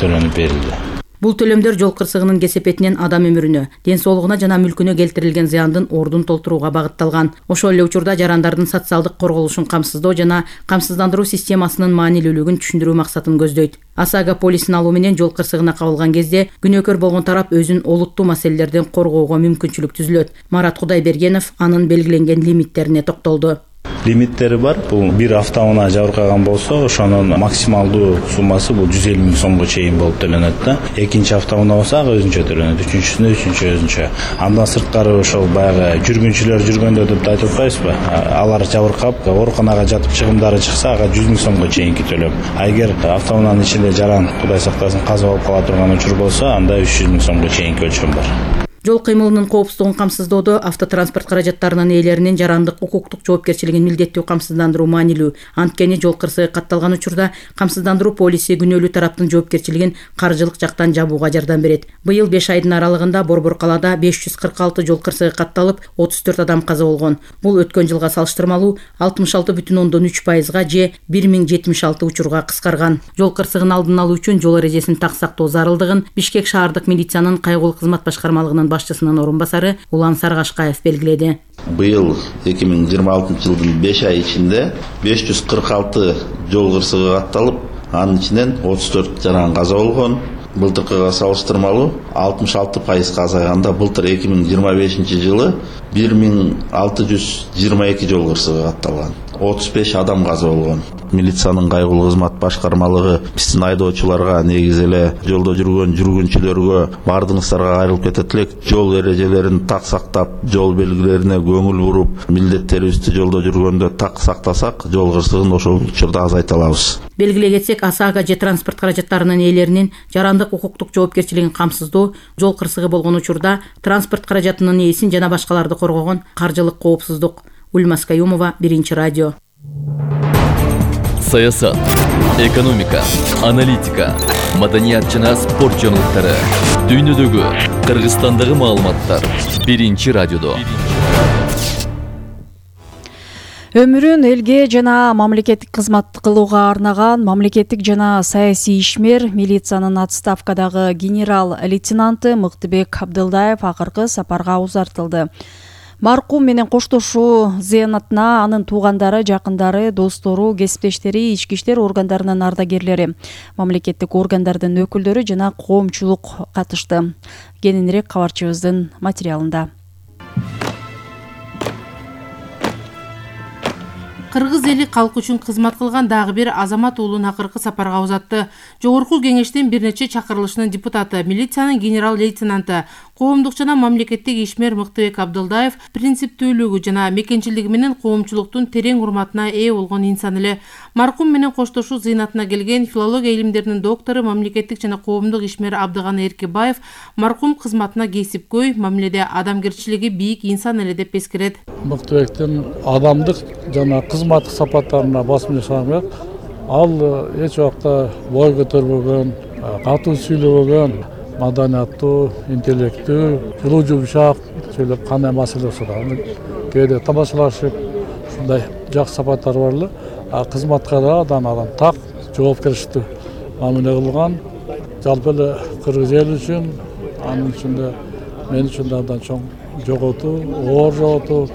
төлөнүп берилди. Бул төлөмдөр жол кырсыгынын кесепетинен адам өмүрүнө, ден соолугуна жана мүлкүнө келтирилген зыяндын ордун толтурууга багытталган. Ошол эле учурда жарандардын социалдык корголушун камсыздоо жана камсыздандыруу системасынын маанилүүлүгүн түшүндүрүү максатын көздөйт. ОСАГО полисин алуу менен жол кырсыгына кабылган кезде күнөөкөр болгон тарап өзүн олуттуу маселелерден коргоого мүмкүнчүлүк түзүлөт. Марат Кудайбергенов анын белгиленген лимиттерине токтолду. Лимиттери бар. Бул бир автоунаа жабыркаган болсо, ошонун максималдуу суммасы бул 150 000 сомго чейин болуп төлөнөт да. Экинчи автоунаа болсо ага өзүнчө төлөнөт, үчүнчүсүнө өзүнчө. Андан сырткары ошол баягы жүргүнчүлөр жүргөндө деп айтып атпайбызбы? Алар жабыркап, ооруканага жатып чыгымдары чыкса, ага 100 000 сомго чейинки төлөм. А эгер автоунаанын ичинде жаран, Кудай сактасын, каза болуп кала турган учур болсо, анда 300 000 сомго чейинки өлчөм бар. Жол кыймылынын коопсуздугун камсыздоодо автотранспорт каражаттарынын ээлеринин жарандык укуктук жоопкерчилигин милдеттүү камсыздандыруу маанилүү. Анткени жол кырсыгы катталган учурда камсыздандыруу полиси күнөөлүү тараптын жоопкерчилигин каржылык жактан жабууга жардам берет. Быйыл 5 айдын аралыгында Борбор калаада 546 жол кырсыгы катталып, 34 адам каза болгон. Бул өткөн жылга салыштырмалуу 66,3%га же 1076 учурга кыскарган. Жол кырсыгын алдын алуу үчүн жол эрежесин так сактоо зарылдыгын Бишкек шаардык милициянын кайгылуу кызмат башкармалыгынын башчысынын орун басары Улан Саргашкаев белгиледи. Быйыл 2026 жылдын 5 ай ичинде 546 жол кырсыгы катталып, анын ичинен 34 жаран каза болгон. Былтыркыга салыштырмалуу 66% азайганда, былтыр 2025 жылы 1622 жол кырсыгы катталган. 35 адам каза болгон. Милициянын кайгылуу кызмат башкармалыгы биздин айдоочуларга, негизи эле жолдо жүргөн жүргүнчүлөргө, бардыгыңыздарга кайрылып кетет элек, жол эрежелерин так сактап, жол белгилерине көңүл буруп, милдеттерибизди жолдо жүргөндө так сактасак, жол кырсыгын ошол учурда азайта алабыз. Белгилей кетсек, ОСАГО же транспорт каражаттарынын ээлеринин жарандык укуктук жоопкерчилигин камсыздоо, жол кырсыгы болгон учурда транспорт каражатынын ээсин жана башкаларды коргогон каржылык коопсуздук. Ульмас Каюмова, Биринчи радио. Саясат, экономика, аналитика, маданият жана спорт жаңылыктары, дүйнөдөгү, Кыргызстандагы маалыматтар Биринчи радиодо. Өмүрүн элге жана мамлекеттик кызмат кылууга арнаган мамлекеттик жана саясий ишмер, милициянын отставкадагы генерал-лейтенанты Мыктыбек Абдылдаев акыркы сапарга узартылды. Маркум менен коштошуу зыянатына анын туугандары, жакындары, достору, кесиптештери, ички иштер органдарынын ардагерлери, мамлекеттик органдардын өкүлдөрү жана коомчулук катышты. Кененирээк кабарчыбыздын материалында. Кыргыз эли калк үчүн кызмат кылган дагы бир Азамат уулун акыркы сапарга узатты. Жогорку кеңештин бир нече чакырылышынын депутаты, милициянын генерал-лейтенанты, коомдук жана мамлекеттик ишмер Мыктыбек Абдылдаев принциптүүлүгү жана мекенчилиги менен коомчулуктун терең урматына ээ болгон инсан эле. Маркум менен коштошуу зыйнатына келген филология илимдеринин доктору, мамлекеттик жана коомдук ишмер Абдыганы Эркебаев маркум кызматына кесипкөй, мамиледе адамгерчилиги бийик инсан эле деп эскерет. Мыктыбектин адамдык жана кызматтык сапаттарына басым жасаган, ал эч убакта бой көтөрбөгөн, катуу сүйлөбөгөн, маданияттуу, интеллектүү, жылуу жумшак сүйлөп кандай маселе болсо да кээде тамашалашып, ушундай жакшы сапаттары бар эле. Кызматка да адам так жоопкерчиликтүү мамиле кылган. Жалпы эле кыргыз эл үчүн, анын ичинде мен үчүн да абдан чоң жоготуу, оор жоготуу,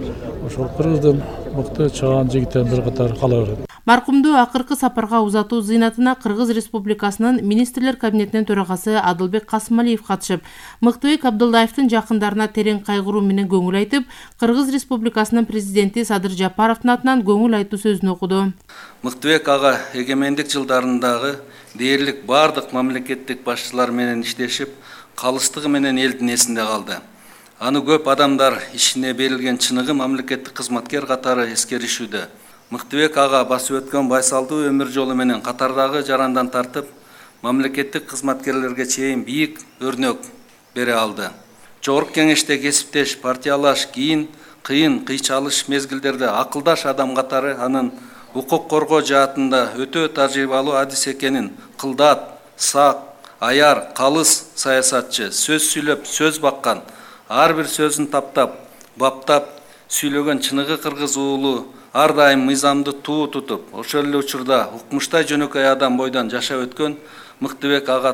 ошол кыргыздын мыкты чыгаан жигиттердин бири катары кала берет. Маркумду акыркы сапарга узатуу зыйнатына Кыргыз Республикасынын министрлер кабинетинин төрагасы Адылбек Касымалиев катышып, Мыктыбек Абдылдаевдин жакындарына терең кайгыруу менен көңүл айтып, Кыргыз Республикасынын президенти Садыр Жапаровдун атынан көңүл айтуу сөзүн окуду. Мыктыбек ага эгемендик жылдарындагы дээрлик бардык мамлекеттик башчылар менен иштешип, калыстыгы менен элдин эсинде калды. Аны көп адамдар ишине берилген чыныгы мамлекеттик кызматкер катары эскеришүүдө. Мыктыбек ага басып өткөн байсалдуу өмүр жолу менен катардагы жарандан тартып, мамлекеттик кызматкерлерге чейин бийик өрнөк бере алды. Жогорку кеңеште кесиптеш, партиялаш, кийин кыйын кыйчалыш мезгилдерде акылдаш адам катары анын укук коргоо жаатында өтө тажрыйбалуу адис экенин, кылдат, сак, аяр, калыс саясатчы, сөз сүйлөп, сөз баккан, ар бир сөзүн таптап, баптап сүйлөгөн чыныгы кыргыз уулу ар дайым мыйзамды туу тутуп, ошол эле учурда укмуштай жөнөкөй адам бойдон жашап өткөн Мыктыбек ага